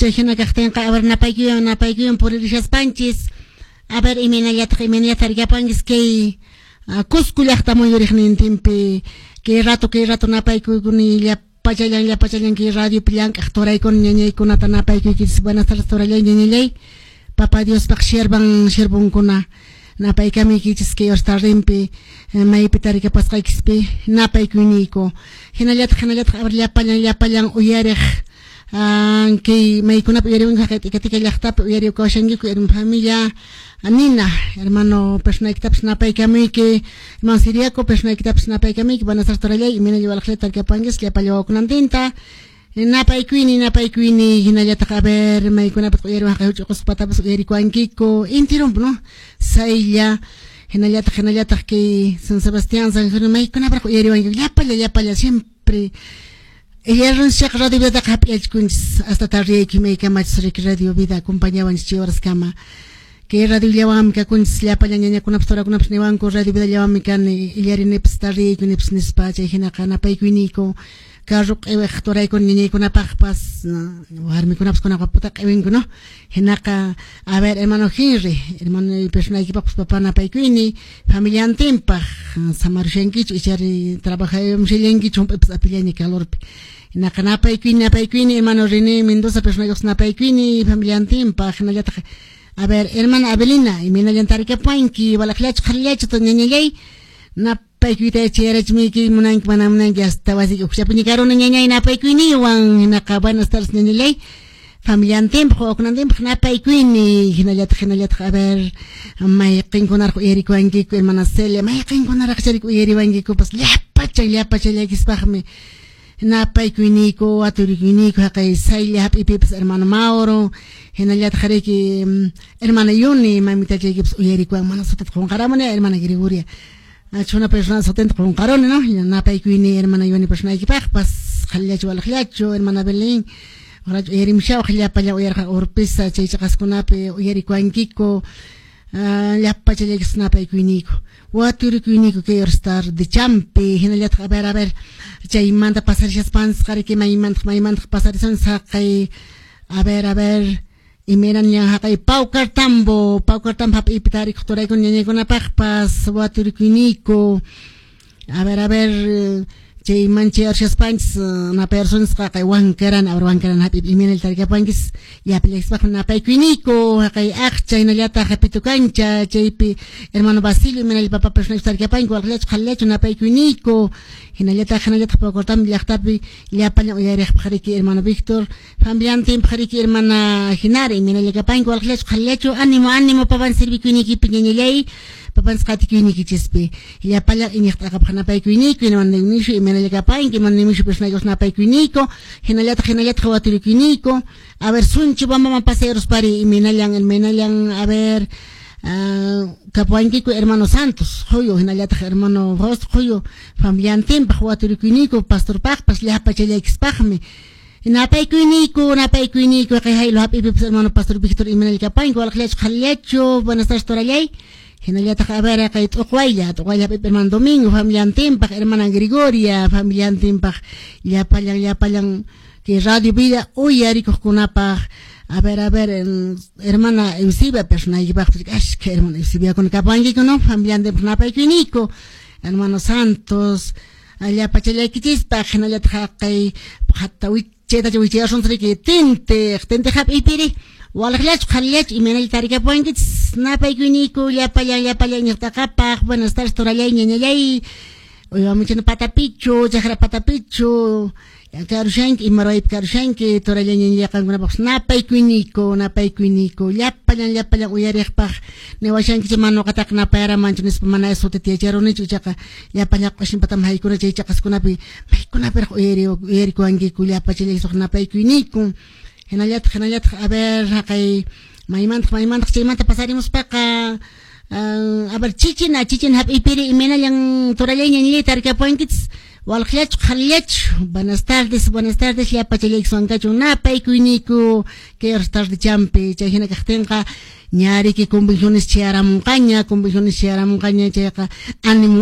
Chay hina kaqtinqa, a ver, napaykuywan napaykuywan puririshaspanchis, a ver, imaynallataq imaynallataq tarikapanchis kay Cusco llaqta muyuriqnintinpi. Kay rato napaykuni llapachallan llapachallan kay radiopi llank'aq turaykuna ñañaykunata napaykuykichis. Buenas tardes, turallay, ñañallay, Papa Diospaq siervan siervonkuna, napaykamuykichis kay horas tardempi, maypi tarikapasqaykispi napaykuyniyku. Hinallataq hinallataq, a ver, llapallan llapallan uyariq, kay maykunapi uyariwanku, haqay Tika Tika llaqtapi uyarikawashankiku, hermano familia Nina, hermano personaykitapas napaykamuyki, hermano Siriaco personaykitapas napaykamuyki. Buenas tardes, turallay, imaynalla walaqllata tarikapankis llapalla wawakunantinta napaykuyni napaykuyni. Hinallataq, a ver, maykunapi uyariwan, haqay huch'uy Qusqupatapas uyarikuwankiku intirunpi, no, Saylla, hinallataq hinallataq kay San Sebastián, San Jerónimo, maykunapiraq uyariwankiku llapalla llapalla. Siempre Illarunchik Radio Vidaqa hap'iyachikunchis hasta tardeyayki maykamachis riki Radio Vida acompañawanchis chay horaskama. Kay radiollawanmi kakunchis llapallan ñañakunapas turakunapas niwanku Radio Vidallawanmi kani illarinipis tardeyaykunipis nispa. Chay hinaqa napaykuyniyku carro q'iwiq turaykuna ñañaykunapaqpas, warmikunapas kunaqa puta q'iwinku, no. Hinaqa, a ver, hermano Henry, hermano personaykipaqpas papa napaykuyni familiantinpaq. Samarushankichu ichari trabajayamshallankichu hump'ipas apillaña calorpi? Hinaqa napaykuyni napaykuyni hermano René Mendoza personaykupas napaykuyni familiantinpaq. Hinallataq, a ver, hermana Abelina, imaynallan tarikapanki, walaqllachu qharillachu ñañallay? Napaykuyta chayarachmiyki munanki mana munanki hasta wasiki uqchapiña karuni ñañay napaykuyniwan. Hinaqa buenas tardes, ñañallay, familiantinpaq wawakunantinpaq napaykuyni. Hinallataq hinallataq, a ver, mayqinkunaraq uyarikuwankiku, hermana Celia, mayqinkunaraq charik uyariwankikupas llapachan llapachallaykispaqmi napaykuyniku aturikuyniyku. Haqay Saylla hap'ipipas hermano Mauro, hinallataq riki hermana Yuni mamitachaykipas uyarikuwan. Mana sutita qunqaramuni, hermana Gregoria chuna persona sutinta qunqaruni, no. Napaykuyni hermana Yuni personaykipaqpas. Qhalillachu walaqllachu, hermana Belén, uyarimshawaq llapallan uyarqa Urpisa chay chaqaskunapi uyarikuwankiku llapachallaykipas napaykuyniku waturikuyniyku kay horas tarde champi. Hinallataq, a ver, a ver, chaymanta pasarishaspanchis riki maymantaq maymantaq pasarisun saqay, a ver, a ver, imaynan haqay Paucartambo Paucartambo hap'ipi tarikuq turaykuna ñañaykunapaqpas waturikuyniyku. A ver, a ver, chay manchayarshaspanchis napayarsunchis qaqay Wankarana, a ver, Wankarana hap'ipi imaynalla tarikapanchis llapallaykispaqmi napaykuyniku. Haqay Aqcha hinallataq Pitukancha chaypi hermano Basilio, imaynalla papa personayki tarikapanki, walaqllachu qhalillachu? Napaykuyniku. Hinallataq hinallataq Paucartambo llaqtapi llapallan uyariqpaq riki hermano Víctor familiantinpaq riki hermana Jinara, imaynalla kapanki, walaqllachu qhalillachu? Ánimo, ánimo, papan servikuyniykipi ñañallay, papanchis qatikuyniykichispi llapallan iñiq t'aqapaq napaykuyniku. Hermano Dionisio, imaynalla kapanki? Hermano Dionisio personaykipas napaykuyniku. Hinallataq hinallataq waturikuyniyku. A ver, Sunchu Bambaman pasearuspari imaynallan imaynallan, a ver, kapuwankiku hermano Santos Quyu hinallataq hermano Fausto Quyu familiantinpaq waturikuyniyku, pastorpaqpas llapachallaykispaqmi napaykuyniku napaykuyniku. Kay haylo hap'ipipas hermano pastor Víctor, imaynalla kapanki, walaqllachu qhalillachu? Buenas tardes, turallay. Hinallataq, a ver, kay T'uqwaylla T'uqwaylla hap'ipi hermano Domingo familiantinpaq, hermana Gregoria familiantinpaq, llapallan llapallan kay Radio Vida uyarikuqkunapaq. A ver, a ver, hermana Eusebia personaykipaqpas, ashka hermana Eusebiakuna kapankiku, no, familiantinpaq napaykuyniku. Hermano Santos llapachallaykichispaq. Hinallataq haqay hatta chaytacha wichayarsunchis riki Tintiq Tintiq hap'ipiri walaqllachu qhalillachu, imaynalla tarikapuwankichis? Napaykuyniku llapallan llapallan iñiq t'aqapaq. Buenas tardes, turallay, ñañallay, uywamuchina patapichu chakra patapichu karushanki, ima ruwaypi karushanki, turallay, ñañallay? Qankunapaqpas napaykuyniku napaykuyniku llapallan llapallan uyariqpaq. Niwashankichik mana ñuqataqa napayaramanchu nispa, mana sutita yacharunichu, ichaqa llapallan q'ushinpatami haykuna chay chaqaskunapi maykunapiraq uyari uyarikuwankiku llapachallaykispaq napaykuyniku. Hinallataq hinallataq, a ver, haqay maymantaq maymantaq chaymanta pasarimuspaqa, a ver, Chichina Chichina hap'ipiri imaynallan, turallay, ñañallay, tarikapuwankichis, walaqllachu qhalillachu? Buenas tardes, buenas tardes, llapachallaykiwan kachun napaykuyniku kay horas tarde champi. Chay hina kaqtinqa ñariki convenciones chayaramunqaña, convenciones chayaramunqaña, chayqa ánimo.